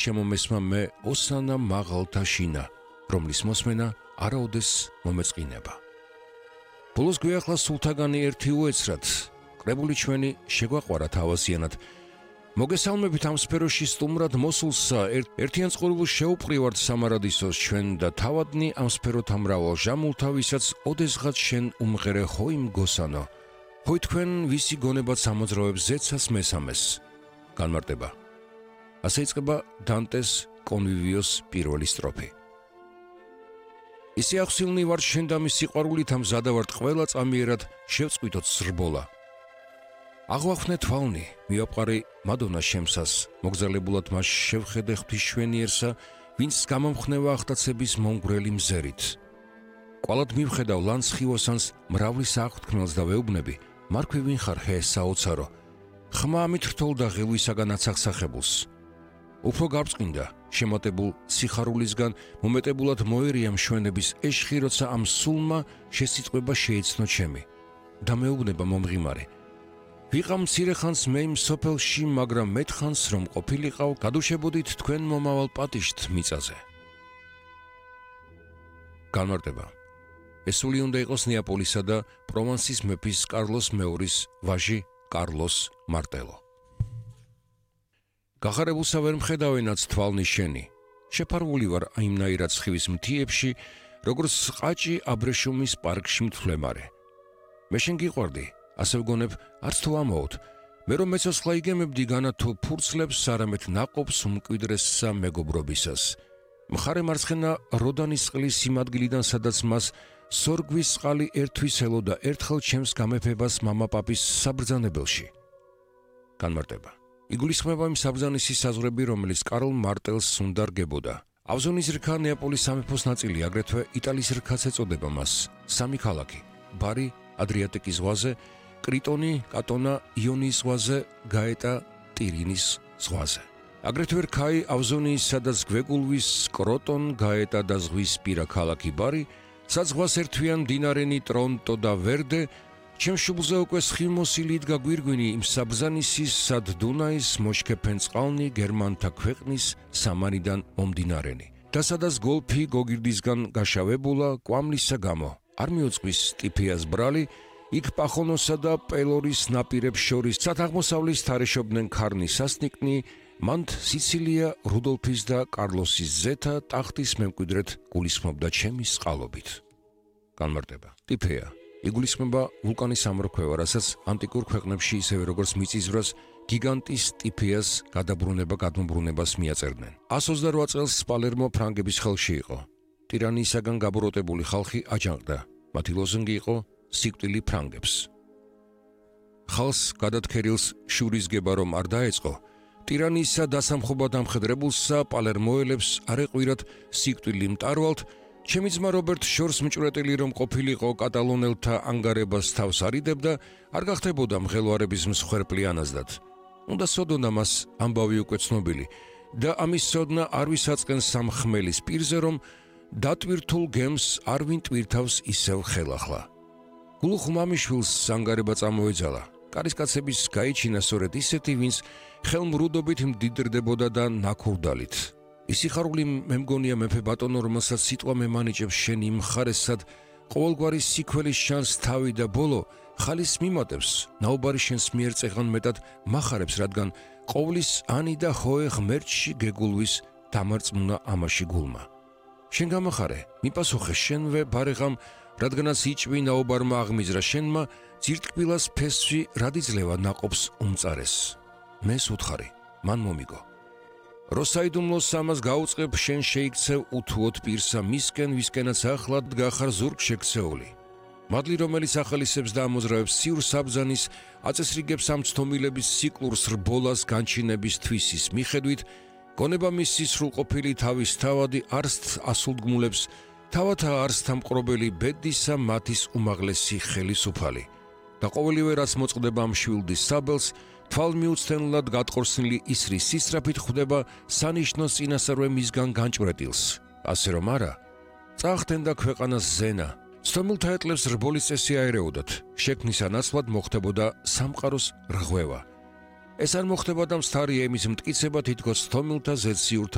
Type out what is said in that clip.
შემომესმა მე ოსანა მაღალთა შინა, რომლის მოსმენა არაოდეს მომეწყინება. ბოლოს გვიახლა სულთაგანი ერთი უეცრად, კრებული ჩვენი შეგვაყვარა თავაზიანად. მოგესალმებით ამ სფეროში სტუმრად მოსულსა, ერთიან წყურვილს შეუპყრივართ სამარადისოს ჩვენ და თავადნი ამ სფეროთ ამრავალ ჟამულთა, ვისაც ოდესღაც შენ უმღერე ხოიმ გოსანო. ხოი თქვენ ვისი გონებად სამოძრავებს ზეცას მესამეს. განმარტება. ასე იწყება დანტეს კონვივიოს პირველი სტროფი. ისე ახსილნი ვარ შენ და მის სიყვარულით ამ ზადავართ ყველა წამიერად შევწყვიტოთ ზრბოლა. აღვახვნე თვალნი, მიაპყარი მადონა შემსას, მოგზალებულად მას შევხედე ღვთისმშენიერსა, ვინც გამომხნევა ახტაცების მომგვრელი მზერით. კვალად მივხედავ ლანცხივოსანს მრავლის აღთქმელს და ვეუბნები, მარქვი ვინ ხარ ჰე საოცარო, ხმა ამით რთოლ და ღილვისაგან აცახსახებულს. უფრო გარწყინდა, შემატებულ სიხარულისგან მომეტებულად მოერია მშვენების ეშხი, როცა ამ სულმა შესიწყვება შეიცნო ჩემი. და მეუბნება მომღიმარე. ვიყავ მცირე ხანს მე იმ სოფელში, მაგრამ მეტხანს რომ ყოფილიყავ, გადუშებოდით თქვენ მომავალ პატიშთ მიწაზე. განმარტება. ეს სული უნდა იყოს ნეაპოლისა და პროვანსის მეფის კარლოს მეორის ვაჟი კარლოს მარტელო. გახარებულსა ვერ მხედავენაც თვალნი შენი. შეფარული ვარ აიმნაირად სხივის მთიებში, როგორც ყაჭი აბრეშუმის პარკში მთვლემარე. მე შენ გიყვარდი, ასე ვგონებ, არც თუ ამაოდ. მე რომ მეცოცხლა იგემებდი განა თუ ფურცლებს, არამედ ნაყოფს უმკვიდრესსა მეგობრობისას. მხარე მარცხენა როდანის წყლის იმ ადგილიდან, სადაც მას სორგვის წყალი ერთვის ელოდა ერთხელ ჩემს გამეფებას მამაპაპის საბრძანებელში. განმარტება. იგულისხმება იმ საბრძანისის საზღვრები, რომელიც კარლ მარტელს უნდა რგებოდა. ავზონის რქა ნეაპოლის სამეფოს ნაწილი, აგრეთვე იტალიის რქაც ეწოდება მას. სამი ქალაქი: ბარი ადრიატიკის ზღვაზე, კრიტონი, კატონა იონიის ზღვაზე, გაეტა ტირინის ზღვაზე. აგრეთვე რქაი ავზონიის, სადაც გვეგულვის კროტონ, გაეტა და ზღვისპირა ქალაქი ბარი, საზღვას ერთვიან მდინარენი ტრონტო და ვერდე. ჩემ შუბლზე უკვე სხივმოსილი იდგა გვირგვინი იმ საბრძანისის, სად დუნაის მოშქეფენ წყალნი გერმანთა ქვეყნის სამარიდან მომდინარენი. და სადაც გოლფი გოგირდისგან გაშავებულა კვამლისა გამო, არ მიუძღვის ტიფიას ბრალი, იქ პახონოსა და პელორის ნაპირებს შორის სათაღმოსავლის თარეშობდნენ ქარნი სასნიკნი, მანდ სიცილია რუდოლფის და კარლოსის ზეთა ტახტის მემკვიდრედ გულისხმობდა ჩემი სყალობით. განმარტება. ტიფეა იგულისხმება ვულკანის ამორქვევა, რასაც ანტიკურ ქვეყნებში ისევე როგორც მიწისძვრას გიგანტის ტიფეას გადმობრუნებას მიაწერდნენ. 128 წელს პალერმო ფრანგების ხელში იყო. ტირანიისაგან გაბოროტებული ხალხი აჯანყდა. მათი ლოზუნგი იყო სიკვდილი ფრანგებს. ხალხს გადათქერილს შურისგება რომ არ დაეწყო, ტირანიისა დასამხობად ამხედრებულსა პალერმოელებს არ ეყვირათ სიკვდილი მტარვალთ, ჩემი ძმა რობერტ შორს მჭვრეტელი რომ ყოფილიყო კატალონელთა ანგარებას თავს არიდებდა, არ გახდებოდა მღელვარების მსხვერპლი ანაზდად. უნდა სოდონა მას ამბავი უკვე ცნობილი და ამის სოდნა არ ვისაწყენ სამხმელის პირზე, რომ დატვირთულ გემს არ ვინ ტვირთავს ისევ ხელახლა. გულუხ მამიშვილს ანგარება წამოეძალა. კარისკაცების გაიჩინა სწორედ ისეთი, ვინც ხელმრუდობით მდიდრდებოდა და ნაქურდალით. ისი ხარული მე მგონია მეფე ბატონო, რომელსაც სიტყვა მემანიჭებს შენი მხარესად, ყოველგვარი სიქველის შანს თავი და ბოლო ხალის მიმატებს, ნაუბარი შენს მიერ წეღან მეტად მახარებს, რადგან ყოვლის ანი და ხოე ღმერთში გეგულვის დამარწმუნა ამაში გულმა. შენ გამახარე, მიპასუხე შენვე ბარეღამ, რადგანაც იჭვი ნაუბარმა აღმიზრა შენმა, ძირტკბილას ფესვი რადიძლევა ნაყოფს უმწარეს. მეს უთხარი, მან მომიგო. როსაიდუმლოს ამას გაუწყებ, შენ შეიქცევ უთუოდ პირსა მისკენ, ვისკენაც ახლად გახარ ზურგ შექცეული. მადლი, რომელიც ახალისებს და ამოძრავებს ციურ საბრძანის, აწესრიგებს ამ ცდომილების სიკლურს რბოლას განჩინების თვისის მიხედვით, გონება მისი სრულყოფილი თავის თავადი არსთ ასულდგმულებს, თავათა არსთა მყრობელი ბედისა მათის უმაღლესი ხელისუფალი. და ყოველივე რაც მოწყდება ამ შვილდის საბელს, თვალმიუცდენლად გატყორსნილი ისრის სისწრაფით ხვდება სანიშნოს წინასწარვე მისგან განჭვრეტილს. ასე რომ არა, წახდენდა ქვეყანას ზენა, ცდომილთა ეტლებს რბოლის წესი აერეოდათ, შექმნისა ნაცვლად მოხდებოდა სამყაროს რღვევა. ეს არ მოხდებოდა მსთარი ემის მტკიცება, თითქოს ცდომილთა ზეციურთა